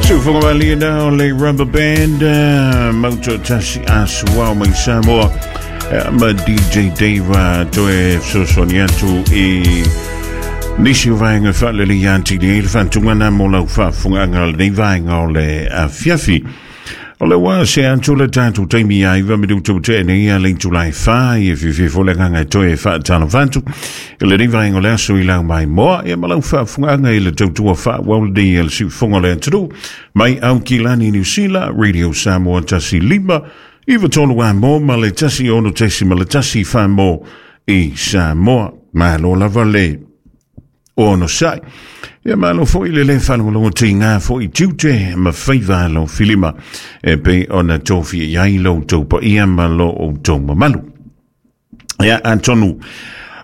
Sufoga na o le Rubber Band, Mauto Tasi Asuao mai Samoa, ma DJ Dave toe fesoasoani atu i nisi o vaega faalelei atili ai le faatugana mo lau faafofogaaga o lenei vaega o le afiafi. O le ua se atu le tatou taimi ia 9 minuta ua tea nei ia le itula e 4 ia fiafia foi le agaga e toe faatalofa atu i lenei vaega o le aso i lau maimoa ia ma lau faafofogaaga i le tautua faaauau lenei a le siufofoga o le atunuu mai Aukilani Niu Sila Radio Samoa 15 93 amo ma le 16.1 whamo i Samoa. Malo lava le onosai. Ia malo foi le le faalogologo tiga foi tiute ma faiva lau filima e pei ona tofia i ai lo outou paia ma lo outou mamalu. Ia atonu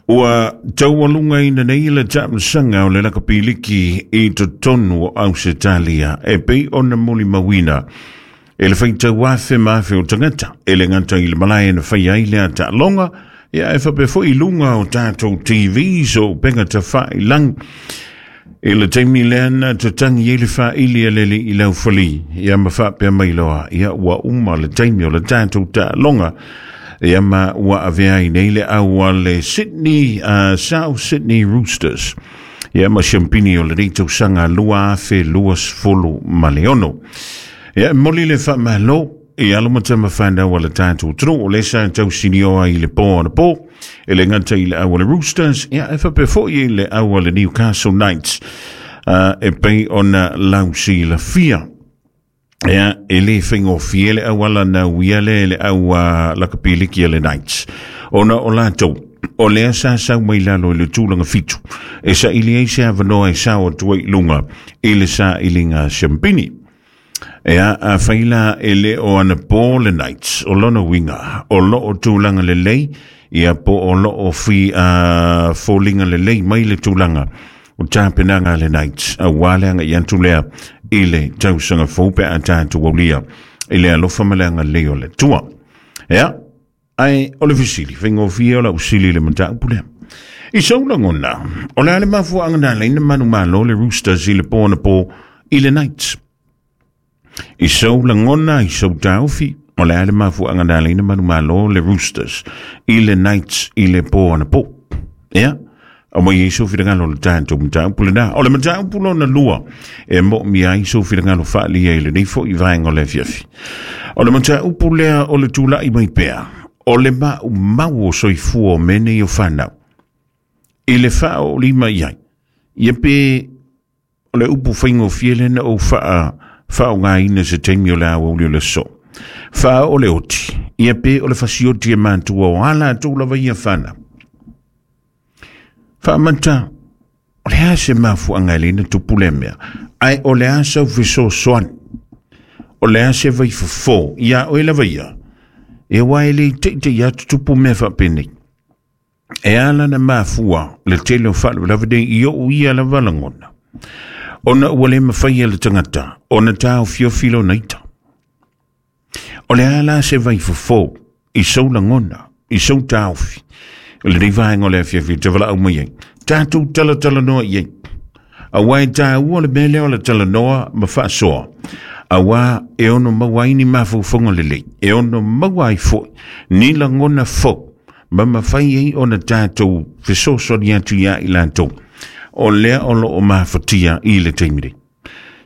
ua taualugaina nei le taamilosaga o le lakapiliki i totonu o Ausetalia e pei ona molimauina e le faitau afe ma afe o tagata e le gata i le malae na fai ai lea taaloga, ia e faapea foi i luga o tatou TVs o upega tafailagi. I le taimi lea na tatagi ai le faaili a le alii laufali, ia ma faapea mai loa, ia ua uma le taimi o le tatou taaloga, ia ma ua avea ai nei le au a le Sydney, South Sydney Roosters, ia ma siampini o lenei tausaga 2026. Ia, e momoli le faamalo i alo ma tama whanau a le tatou atunuu o lea sa tausinioa i le pō anapo, e le gata i le au a le Roosters, ia e faapea foi i le au a le Newcastle Knights, e pei ona lausilafia. Ia, e le faigofie le auala na uia lea e le au a lakapiliki a le Knights, ona o latou, o lea sa sau mai lalo i le tulaga 7, e saili ai se avanoa e sao atu ai i luga i le sailiga siampini. Ea, afai la e le o anapo le Knights, o lona uiga, o lo o tulaga lelei, ia po o lo o fi, foliga lelei mai le tulaga o tapenaga a le Knights, aua le agai atu lea i le tausaga fou pe a tatou aulia i le alofa ma le agalelei o le Atua. Ea, ae o le fesili, faigofie o lau sili i le mataupu lea. I sou lagona, o le a le mafuaaga na ala ai na manumalo le Roosters i le pō anapo i le Knights? I sou lagona, i sou taofi, o le a le mafuaaga na ala ai na manumalo le Roosters i le Knights i le pō anapo? Ia, aumai ai sou finagalo o le tatou mataupu lena. O le mataupu lona lua e moomia ai sou finagalo faaalia i lenei foi vaega o le afiafi. O le mataupu lea o le tulai mai pea o le maumau o soifua o mea nei o fanau i le faaoolima i ai. Ia pe o le upu faigofie lea na ou faaaogaina se taimi o le aoauli o le aso. Faaoo le oti, ia pe o le fasioti e matua o a latou lava ia fanau. Faamata, o le a se mafuaaga e le na tupu lea mea, ae o le a sau fesoasoani, o le a se vaifofo ia oe lava ia, e aua e le i teitei atu tupu mea faapenei. E ala na mafua le tele o faalavelave nei i o'u ia lava lagona, ona ua le mafai e le tagata ona taofiofi lona ita. O le a la se vaifofo i sou lagona, i sou taofi, o lenei vaega o le afiafi te valaau mai ai, tatou talatalanoa i ai. Aua e tāua le mea lea o le talanoa ma faasoa, aua e ono maua ai ni mafaufauga lelei, e ono maua ai foi ni lagona fou, ma mafai ai ona tatou fesoasoani atu iā i latou o lea o lo o mafatia i le taimi nei.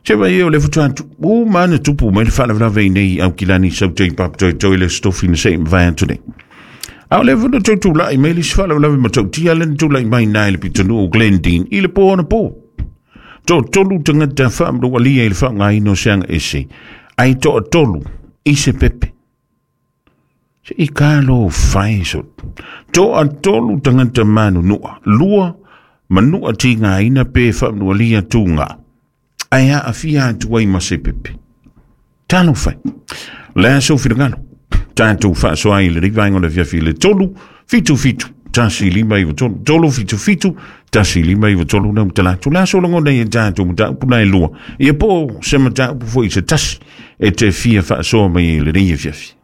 Se vai o le faatoa uma ana tupu mai le faalavelave i nei Aukilani Sautei Papatoetoe le Aso Tofi na se i mavae atu nei. A o lea foi na toe tulai mai le isi faalavelave matautia lea na tulai mai na i le pitonuu o Glendene i le pō anapo. Toatolu tagata faamanualia i le faaaogaina o se aga ese, ai toatolu i se pepe. Se i kalo fai so. Toatolu tagata manunua, lua manua tigaina pe faamanualia tūgā. Ae aafia atu ai ma se pepe. Talofa e. Le a sou finagalo. Tatou faasoa ai i lenei vaega o le afiafi i le 3 7 7 1 5 9 3 3 7 7 1 5 9 3 na utala atu. Le a sou lagona i e tatou mataupu na e lua. Ia po o se mataupu foi se tasi e te fia faasoa mai i lenei afiafi.